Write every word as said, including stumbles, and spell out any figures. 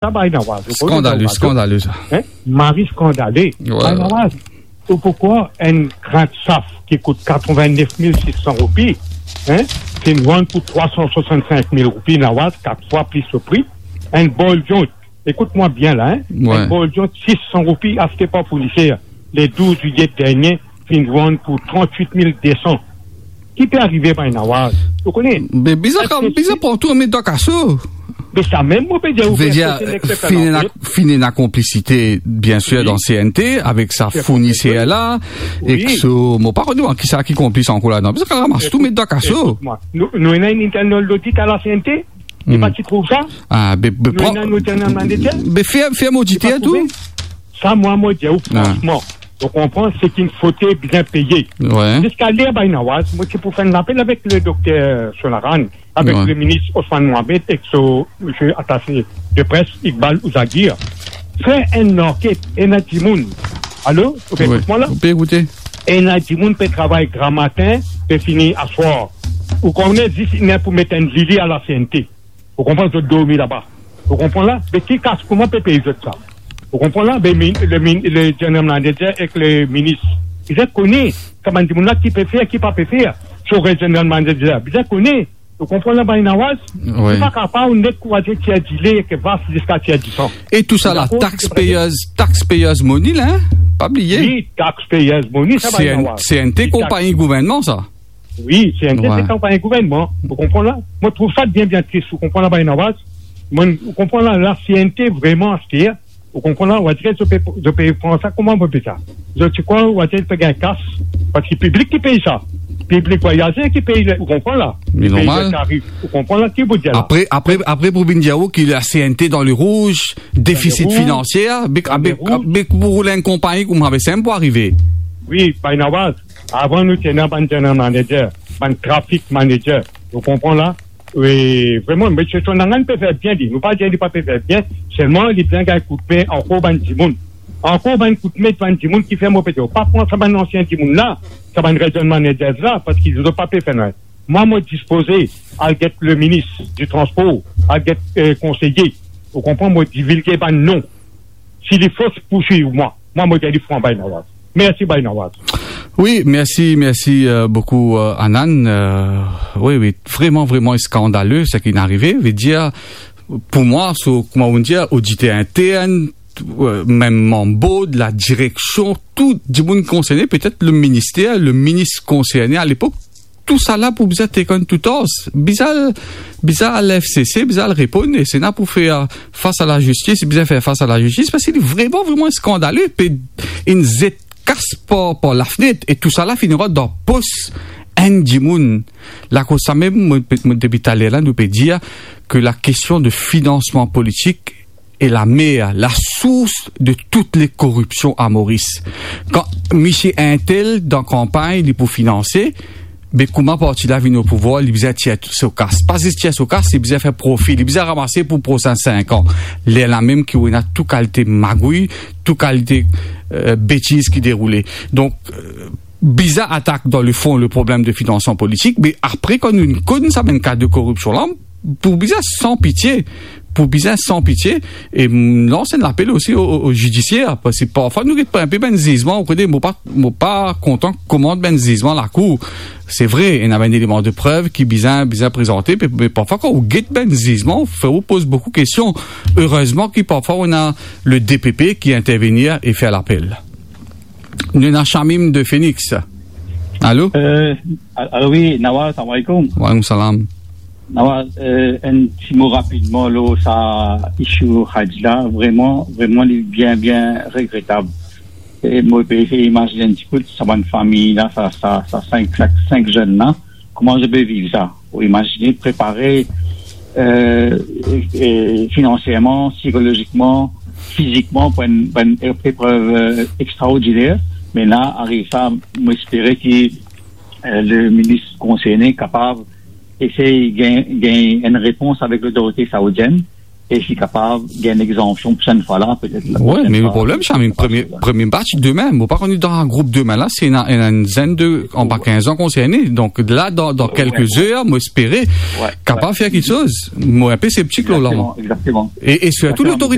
sa, Bainawaz. Skandale, skandale sa. Hein? Mari skandale. Wi. Bainawaz, ou pou krwar enn grin saf ki kout katrevin-nef mil sis san roupi, hein, finn vann pou trwa san swasann-sink mil roupi, Nawaz, kat fwa plis so pri. Enn bol viann, ekout mwa bien la, hein, wi, enn bol viann sis san roupi aste par fourniser le douz zilye dernie, finn vann pou trant-wit mil de san. Ki pe arive, Bainawaz? Ou kone? Me bizarre, bizarre pran tou met dan kaso. Me sa mem, mo pe dir ou, vedir, finn ena, finn ena konplisite, biensir, dan C N T, avek sa fourniser la, ek so, mo pa kone ki sa ki konplis ankor ladan. Bizarre ramas tou met dan kaso. Ekout mwa, nou, nou ena enn internal audit a la C N T, ou pa ti trouv sa? Ah, be, be, nou ena nou internal manager. Be, fer, fer modite tou. Sa, mwa, mo dir ou fransman, ou konpran, se ki fode bien peye. Wi. Ziska ler, Bainawaz, mo ti pou fer enn lapel avek le dokter Sonaran, avek le minis Osman Mohamed ek so misie atase de pres Iqbal Ouzagir. Fer enn anket, ena dimoun. Alo, ou pe ekout mwa la? Ou pe ekoute. Ena dimoun pe travay gramatin, pe fini aswar. Ou kone, zis ena pou met enn lili a la C N T. Ou konpran, zot dormi laba. Ou konpran la? Me ki kas, kouma pe pey zot sa? Ou konpran la? Me min-, le min-, le general manager ek le minis, bizin kone sa bann dimoun la ki pe fer, ki pa pe fer. So re general manager, bizin kone. Ou konpran la, Bainawaz? Wi. Ou pa kapav net kouraze tir dile, ke vas ziska tir disan. E tou sa la, taxpayers, taxpayers money la, hein? Pa bliye. Wi, taxpayers money, sa, Bainawaz. C N T, konpagni gouvernman sa. Wi, C N T, se konpagni gouvernman. Ou konpran la? Mo trouv sa bien, bien tris. Ou konpran la, Bainawaz? Mo, ou konpran la, la C N T, vreman, aster, ou konpran la, ou adir, zot pe, zot pe pran sa, kouma mo pe sa? Zot ti krwar, ou adir, pe gagn kas, parski piblik ki pey sa. Piblik vwayazer ki pey, ou konpran la? Me normal. Ki pey le tarif. Ou konpran la, ki pou dir la? Apre, apre, apre pou vinn dir ou ki la C N T dan le rouz, defisit finansie, be, be, pou roul enn konpagni kouma sa, sa pou arive. Wi, Bainawaz. Avan nou ti ena bann general manager, bann traffic manager. Ou konpran la? Wi, vreman, misie Sonaran pe fer bien li. Nou pa dir li pa pe fer bien, selman li bizin gagn koutme ankor bann dimoun. Ankor bann koutme bann dimoun ki fer, mo pe dir, pa pran sa bann ansien dimoun la, sa bann regional managers la, parski zot pa pe fer nanye. Mwa, mo dispoze al get le minis di transpor, al get, eh, konseye. Ou konpran, mo divilge bann non. Si li fos, pourswiv mwa. Mwa, mo dir li fran, Bainawaz. Mersi, Bainawaz. Wi, mersi, mersi, euh, boukou, euh, Anan. Euh, wi, wi, vreman, vreman skandale, seki inn arive. Vedir, pou mwa, so, kouma ou dir, oditer intern, euh, mem manm board, la direksion, tou dimoun konserne, petet le minister, le minis konserne a lepok, tou sa la pou bizin take on tou tors. Bizin al, bizin al F C C, bizin al reponn, e Sena pou fer fas a lazistis, bizin fer fas a lazistis, parski li vreman, vreman skandale, pe inn zet kas par, par lafnet, e tou sa la finn rant dan pos enn dimoun. Lakoz samem, mo, mo, depi taler la, nou pe dir ke la kestion de finansman politik, e la mer, la sours de tout le koripsion a Moris. Kan misie intel dan kanpagn, li pou finanse, be kouma parti la vinn o pouvwar, li bizin tir so kas. Pa zis tir so kas, li bizin fer profi, li bizin ramase pou prosin sink an. Lerla mem ki ou ena tou kalite magouy, tou kalite, euh, betiz ki deroule. Donk, euh, bizin atak dan le fon le problem de finansman politik, me apre, kan nou konn sa bann ka de koripsion la, pou bizin san pitie, pou bizin san pitie, e, mm, lans enn lapel osi o, o, o zidisier, parski parfwa nou get pran inpe bann zizman, ou kone, mo pa, mo pa kontan koman bann zizman lakour. Se vre, ena bann eleman de prev ki bizin, bizin prezante, me, me parfwa kan ou get bann zizman, ou fer ou poz boukou kestion. Erezman ki parfwa ou ena le D P P ki intervenir e fer lapel. Nou ena Shamim de Phoenix. Alo? Euh, al-, alo, wi, Nawaz, salam alaikum. Wa alaikum salam. Nawaz, euh, enn ti mo rapidman lor sa issue Hajj la, vreman, vreman, li bien, bien regretab. E mo pe esey imazine enn ti pe sa bann fami la, sa, sa, sa sink, sa sink zenn la, kouma zot pe viv sa? Ou imazine prepare, euh, e, e, finansierman, sikolozikman, fizikman pou enn, pou enn ep-, eprev, euh, extraordiner. Me la, ariv sa, mo espere ki, euh, le minis konserne kapav esey gagn, gagn enn repons avek lotorite saoudienn. e si kapav gagn enn egzanpsion prosenn fwa la, petet la prosenn fwa. Wi, me le problem, Shamim, premie, premie batch demin, mo pa kone dan group demin la, si ena, ena enn zenn de anba kinz an konserne. Donk la, dan, dan kelke zer, mo espere kapav fer kiksoz. Mo enpe septik lor la, mwa. Egzakteman, egzakteman. E, e sirtou lotorite